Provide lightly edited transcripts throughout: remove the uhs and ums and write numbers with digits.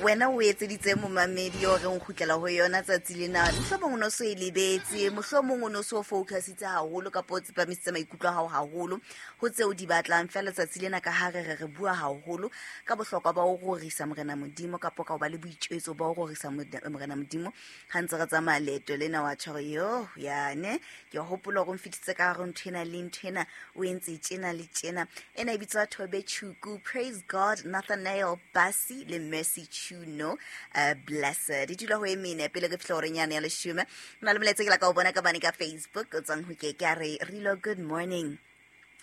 Wena o etseditse momamedi o reng kgutlela ho yona tsatsi lena. Mohlomong o no so e lebetse, mohlomong o no so focusitse haholo kapa o tsepamisitse maikutlo a hao haholo ho tseo di batlang. Feela tsatsi lena ka ha re re re bua haholo ka bohlokwa ba ho rorisa Morena Modimo kapa ka ho ba le boitjwetso ba ho rorisa Morena Modimo ha ntse re tsamaya leeto lena wa tjho yo yane ke hopola hore o mfetitse ka hare ntho ena le ntho ena o entse tjena le tjena. Ena e bitswa Thobe Chuku, Praise God, Nathanael Basi le Mercy Chuno, Blessed. E dula ho e mene pele re fihla horeng yane ya leshome. Na le molaetsa ke la ka o bona ka bane ka Facebook o tswang ho ke ke a re Rilo, good morning.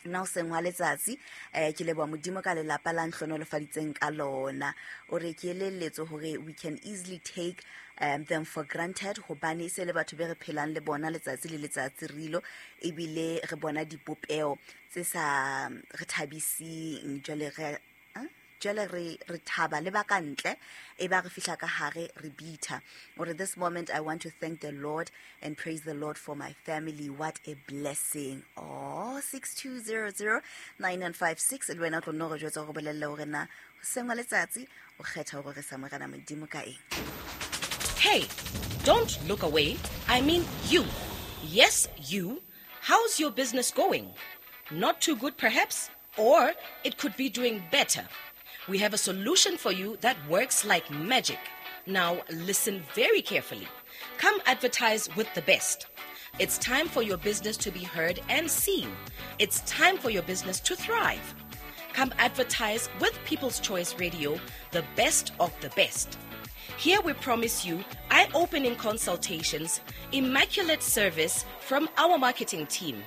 Nna o seng wa letsatsi ke leboha Modimo ka lelapa la nhlonolofaditseng ka lona. O re ke elelletswe hore we can easily take them for granted hobane e se le batho be re phelang le bona letsatsi le letsatsi rilo, ebile re bona dipopeo tse sa re thabiseng. Jwale re jwale re re thaba le ba ka ntle, e ba re fihla ka hare re bitha. O re this moment I want to thank the Lord and praise the Lord for my family. What a blessing. Oh, 62009956 le wena o tlo nno re jwetsa gore bolelle hore na hoseng wa letsatsi o kgetha hore re sa Morena Modimo ka eng. Hey, don't look away. I mean you. Yes, you. How's your business going? Not too good, perhaps? Or it could be doing better. We have a solution for you that works like magic. Now, listen very carefully. Come advertise with the best. It's time for your business to be heard and seen. It's time for your business to thrive. Come advertise with People's Choice Radio, the best of the best. Here we promise you eye-opening consultations, immaculate service from our marketing team.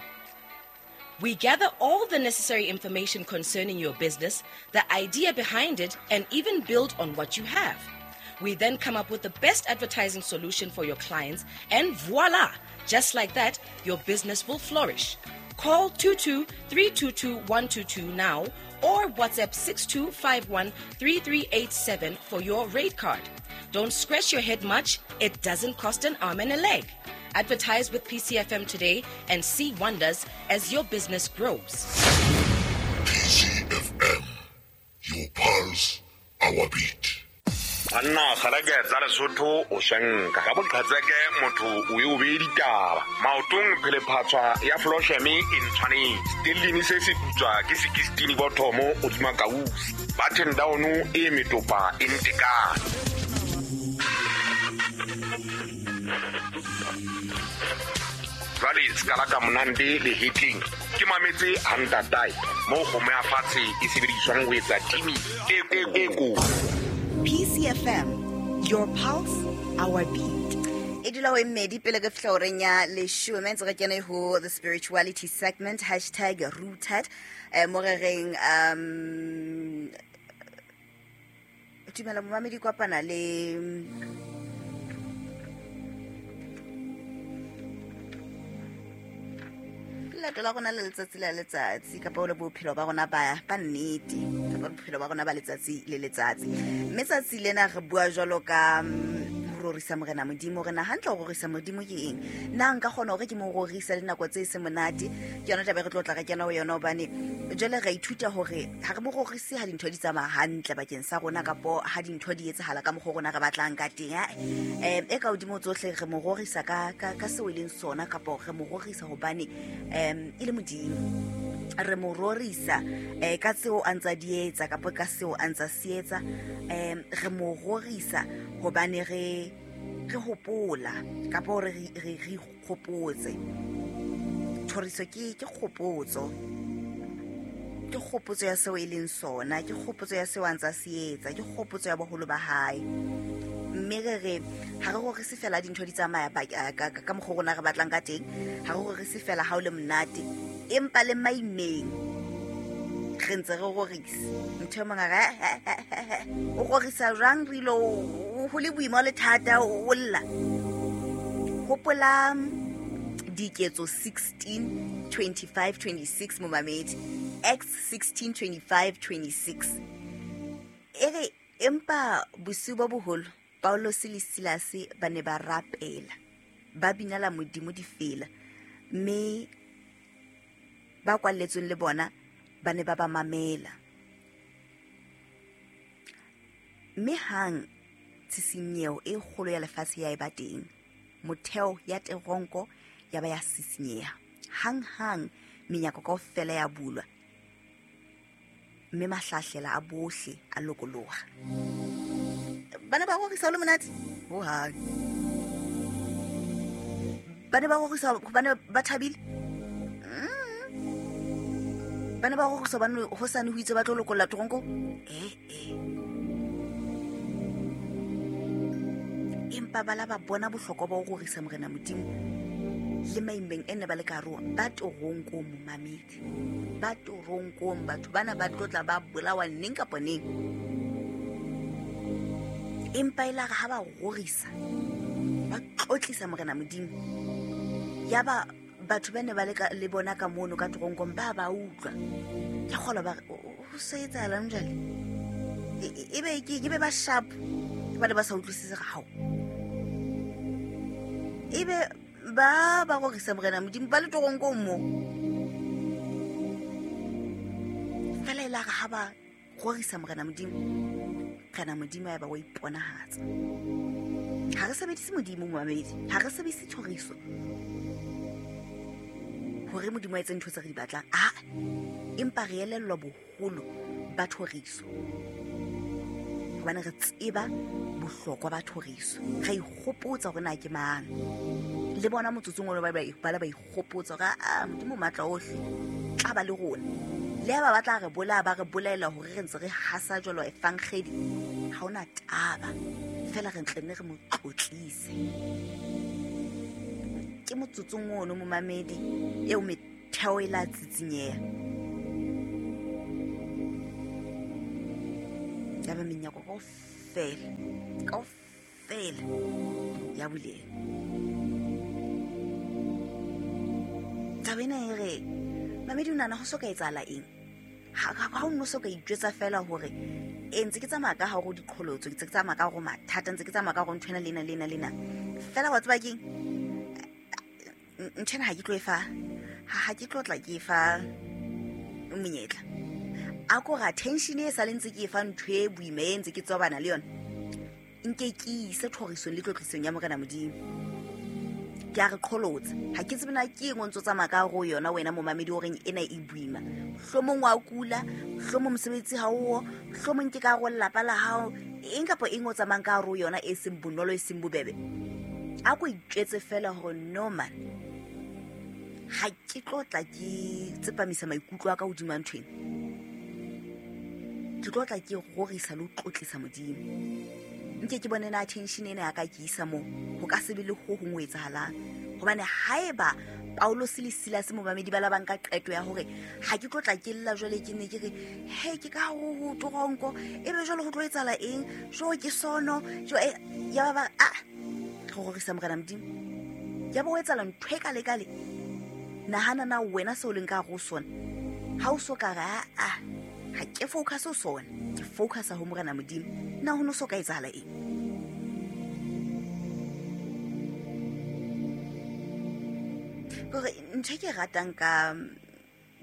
We gather all the necessary information concerning your business, the idea behind it, and even build on what you have. We then come up with the best advertising solution for your clients, and voila! Just like that, your business will flourish. Call 22-322-122 now or WhatsApp 6251-3387 for your rate card. Don't scratch your head much. It doesn't cost an arm and a leg. Advertise with PCFM today and see wonders as your business grows. PCFM, your pulse, our beat. Banna kgalake tsa Lesotho o shanka ka boqhetseke motho o ye o beye ditaba maotong phelephatswa ya flosheme e ntshwanetse stellini se se putswa ke sekistini bothomo o tsuma kausi button down e metopa e ntekane. Jwale se ka la ka monande le hitting ke mametse hantatae mo kgomo ya fatshe e sebediswang ho etsa timi e e ko. PCFM, your pulse, our beat. E dula ho e mmedi pele re fihla horeng ya leshome, ntse re kene ho the spirituality segment, hashtag rooted. Mo re reng, dumela momamedi kopana le leeto la rona le letsatsi la letsatsi kapa o le bophelo ba rona ba nnete kapa bophelo ba rona ba letsatsi le letsatsi. Mme tsatsi lena re bua jwalo ka ho rorisa Morena Modimo. Re na hantle ho rorisa Modimo ke eng? Na nka kgona hore ke mo rorise le nako tse seng monate? Ke yona taba e re tlo tla re kena ho yona, hobane jwale re ithuta hore ha re mo rorise ha dintho di tsamaya hantle bakeng sa rona kapo ha dintho di etsahala ka mokgwa rona re batlang ka teng. E ka hodimo tsohle re mo rorisa ka seo e leng sona, kapo re mo rorisa hobane e le Modimo. Re mo rorisa ka tseo a ntsa di etsa kapo ka seo a ntsa se etsa. Re mo rorisa hobane re hopola kapo hore re ikgopotse. Thoriso ke kgopotso. Ke kgopotso ya seo e leng sona, ke kgopotso ya seo a ntsa se etsa, ke kgopotso ya boholo ba hae. Mme re re ha re rorise fela dintho di tsamaya ka mokgwa rona re batlang ka teng, ha re rorise fela ha o le monate, empa le maimeng re ntse re rorisa. Ntho e mong a re, o rorisa jwang re ilo ho le boima le thata o lla. Hopola Diketso 16 25 26 momamedi, Acts 16 25 26. E re empa bosiu bo boholo Paulus le Silase ba ne ba rapela, ba binela Modimo difela, mme ba kwalletsweng le bona ba ne ba ba mamela. Mme hang Tshisinyeho e kgolo ya lefatshe ya eba teng. Motheo ya teronko ya ba ya sisinyeha. Hanghang menyako kaofela ya bulwa, mme mahlahlela a bohle a lokoloha. Ba ne ba rorisa ho le monate? Hohang. Ba ne ba rorisa hobane ba thabile? Ba ne ba rorisa hobane hosane ho itse ba tlo lokolla teronko? Eh, eh. Empa ba la ba bona bohlokwa ba ho rorisa Morena Modimo le maimeng e ne ba le ka hare ho ona. Ba teronkong, momamedi. Ba teronkong, batho bana ba tlo tla ba bolawa neng kapa neng. Empa e la re ha ba rorisa, ba tlotlisa Morena Modimo, ya ba batho ba ne ba le bona ka mono ka teronkong ba ba utlwa. Ke kgolwa ba re, ho se etsahalang jwale? Ebe ke be ba sharp, ba ne ba sa utlwisise ga hao. Ebe ba ba rorisa Morena Modimo ba le teronkong mo. Fela e la re ha ba rorisa Morena Modimo, Morena Modimo ya ba wa iponahatsa. Ha re sebedise Modimo, momamedi, ha re sebedise thoriso hore Modimo a etse ntho tse re di batlang. Ah, empa re elellwa boholo ba thoriso, hobane re tseba bohlokwa ba thoriso. Re ikgopotsa hore na ke mang. Le bona motsotsong ono ba la ba ikgopotsa hore, ah, Modimo o matla ohle, tla ba le rona. Le ha ba batla re bolaya, ba re bolaela hore re ntse re hasa jwalo evangeli, ha hona taba. Feela re ntle nne re mo tlotlise. Ke motsotsong ono, momamedi, eo metheo e la tsitsinyeha. Ya ba menyako kaofela, kaofela ya buleha. Taba ena e re, mamedi, o nahana ho so ka etsahala eng? Ha o no so ka itjwetsa fela hore, e ntse ke tsamaya ka hare ho diqholotso, ntse ke tsamaya ka hare ho mathata, ntse ke tsamaya ka hare ho ntho ena le ena le ena le ena. Fela wa tseba keng? Ntho ena ha ke tlo e fa, ha ke tlo tla ke e fa monyetla. A ko re attention e sa le ntse ke e fa ntho e boima e ntse ke tswabana le yona, nke ke ise thorisong le tlotlisong ya Morena Modimo. Ke a re qholotsa. Ha ke tsebe na ke eng o ntso tsamaya ka hare ho yona wena momamedi o reng ena e boima. Mohlomong wa kula, mohlomong mosebetsi ha o, mohlomong ke ka hare ho lelapa la hao, eng kapa eng o tsamayang ka hare ho yona e seng bonolo, e seng bobebe. A ko itjwetse fela hore no man, ha ke tlo tla ke tsepamisa maikutlo a ka hodima ntho ena. Ke tlo tla ke rorisa le ho tlotlisa Modimo. Nke ke bone na attention ena ya ka ke isa moo, ho ka se be le ho hong ho etsahalang. Hobane haeba Paulus le Silas momamedi ba la ba nka qeto ya hore ha ke tlo tla ke lla jwale, ke ne ke re, he, ke ka hare ho toronko, ebe jwale ho tlo etsahala eng? Jo, ke sono, jo, ya ba ba, ah, re rorisa Morena Modimo. Ya ba ho etsahala ntho e kale-kale. Nahana na wena seo leng ka hare ho sona. Ha o so ka re, ah, ah, ha ke focus ho sona, ke focus ho Morena Modimo. Na ho no so ka etsahala eng? Kore ntho e ke ratang ka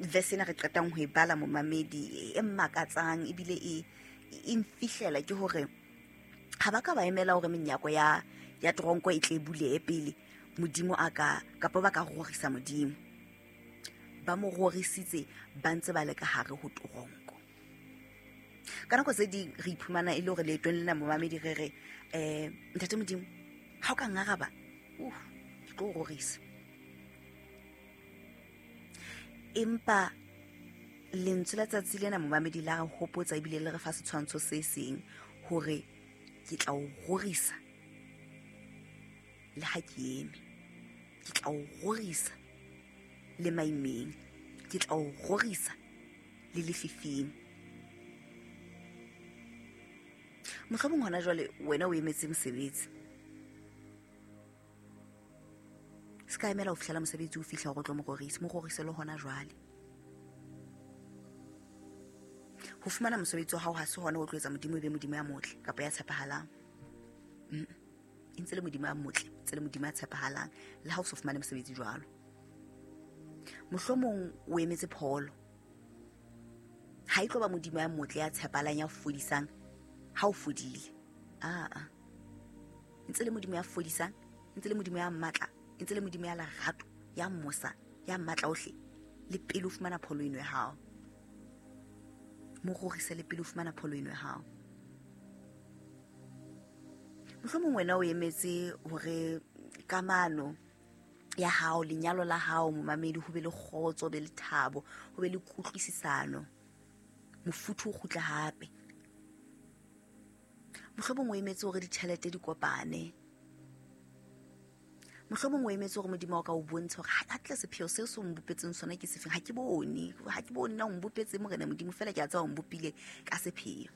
verse ena re qetang ho e bala momamedi, e mmakatsang ebile e mfihlela ke hore ha ba ka ba emela hore menyako ya tronko e tle e bulehe pele Modimo a ka, kapa ba ka rorisa Modimo. Ba mo rorisitse ba ntse ba le ka hare ho tronko. Ka nako tse ding re iphumana e le hore leetong lena momamedi re re, Ntate Modimo, ha o ka ngaraba, ke tlo o rorisa. Empa lentswe la tsatsi lena momamedi la re hopotsa ebile le re fa setshwantsho se seng hore ke tla o rorisa le ha ke eme, ke tla o rorisa le maimeng, ke tla o rorisa le lefifing. Mohlomong hona jwale wena o emetse mosebetsi. Se ka emela ho fihlela mosebetsi o fihla hore o tlo mo rorisa, mo rorise le hona jwale. Ho fumana mosebetsi wa hao ha se hona ho tlo etsa Modimo e be Modimo ya motle kapa ya tshepahalang. E ntse le Modimo ya motle, ntse le Modimo ya tshepahalang le ha o so fumane mosebetsi jwalo. Mohlomong o emetse pholo. Ha e tlo ba Modimo ya motle ya tshepahalang ya fodisang ha o fodile. Aa. Ntse le Modimo ya fodisang, ntse le Modimo ya matla, ntse le Modimo ya lerato, ya mosa, ya matla ohle. Le pele o fumana pholo eno ya hao. Mo rorise le pele o fumana pholo eno ya hao. Mohlomong wena o emetse hore kamano ya hao, lenyalo la hao, momamedi, ho be le kgotso, ho be le thabo, ho be le kutlwisisano, mofuthu o kgutle hape. Mohlomong o emetse hore ditjhelete di kopane. Mohlomong o emetse hore Modimo o ka o bontsha hore ha tle sepheo seo se o mbopetseng sona ke sefeng. Ha ke bone, ha ke bone na o mbopetse Morena Modimo, fela ke a tseba o mbopile ka sepheo.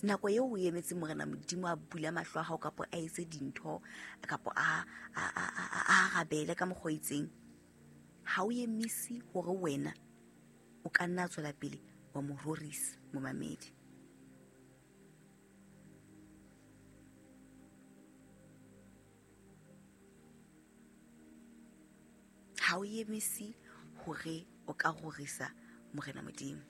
Nako eo o emetse Morena Modimo a bula mahlo a hao kapo a etse dintho kapo a arabele ka mokgwa o itseng, ha o emise hore wena o ka nna tswela pele wa mo rorisa momamedi. Ha o emise hore o ka rorisa Morena Modimo.